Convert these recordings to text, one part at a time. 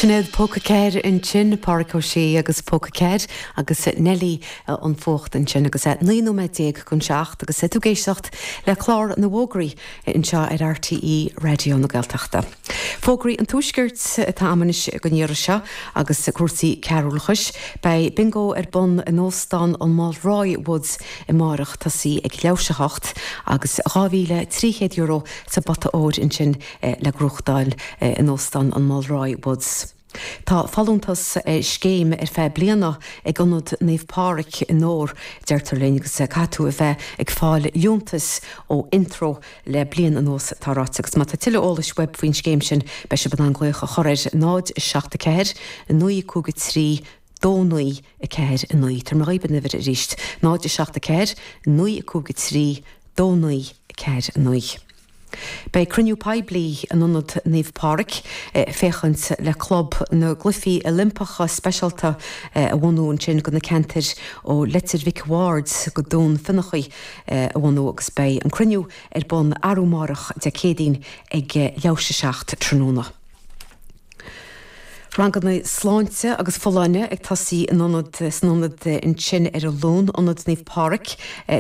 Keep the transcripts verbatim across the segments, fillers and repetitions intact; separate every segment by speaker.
Speaker 1: Sinéad Póca Ceir ansin, Pádraic Ó Sé agus Póca Ceir agus Nelly an Fuacht ansin agus é naoi nóiméad déag chun seacht agus tú ag éisteacht le clár na bhfógraí anseo ar RTÉ Raidió na Gaeltachta. Fógraí an Tuaiscirt atá agam anois don iarraidh seo agus cúrsaí cearúlachais, Beidh bingo ar bun in Óstán an Mulroy Woods amárach tosaí ag leathuair théis a hocht agus dhá mhíle trí chéad euro sa bpota óir ansin le gnóthachtáil in Óstán an Mulroy Woods. Tá folúntas scéim ar feadh bliana ag Ionad Naomh Pádraig i nDobhar deirtear linn agus caithfidh tú a bheith ag fáil liúntas ó Intreo le bliain anuas tá ráite agus má tá tuilleadh eolais uait faoin scéim sin beidh sibh in ann glaoch a chur ar náid seacht a ceathair naoi cúig a trí dó naoi a ceathair a naoi Tabharfaidh mé dhaoibh an uimhir arís náid seacht a ceathair naoi cúig a trí dó naoi a ceathair a naoi. Beidh cruinniú poiblí in Ionad Naomh Pádraig féachaint le club na gCluichí Oilimpeacha speisialta a bhunú ansin do na ceantair ó Leitir Mhic Bhaird go Dún Fionnachaidh a bhunú agus beidh an cruinniú ar bun arú amárach Dé Céadaoin ag leathuair théis a seacht tráthnóna. Ranganna sláinte agus folláine ag tosaí in ionad san ionad ansin ar an Luan Ionad Naomh Pádraig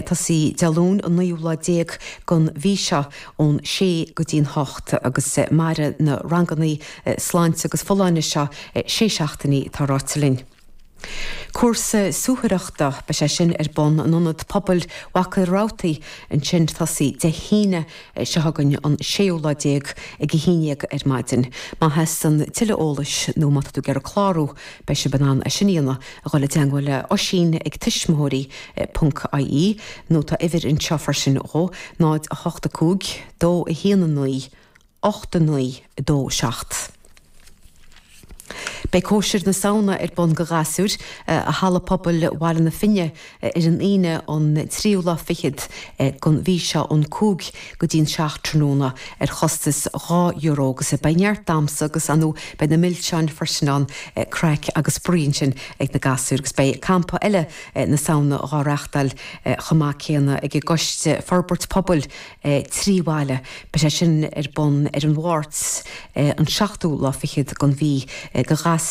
Speaker 1: tosaí Dé Luain an naoú lá déag den mhí seo ón sé go dtí an hocht agus mairfidh na ranganna sláinte agus folláine seo sé seachtainí tá ráite linn. Cúrsa suathaireachta beidh sé sin ar bun in ionad pobail Mhachaire Rabhartaigh ansin tosaí Dé hAoine seo chugainn an séú lá déag ag a haon déag ar maidin. Má theastaíonn tuilleadh eolais nó má tá tú ag iarraidh clárú beidh sibh in ann é sin a dhéanamh a dhul i dteagmháil le Oisín ag tuismitheoirí ponc IE nó tá uimhir anseo freisin dhó náid a hocht a cúig dó a haon a naoi ocht a naoi dó seacht. Beidh cóisir na Samhna ar bun do ghasúir i Halla Pobail Bhaile na Finne ar an Aoine an tríú lá fichead den mhí seo ón cúig go dtí an seacht tráthnóna ar chostas dhá euro agus beidh neart damhsa agus anú beidh na milseáin freisin ann craic agus spraoi ansin ag na gasúir agus beidh campa eile na Samhna á reáchtáil chomh maith céanna ag an gCoiste Forbairt Pobail trí bhaile. Beidh sé sin ar bun ar an Mháirt an seachtú lá fichead den mhí do ghasúir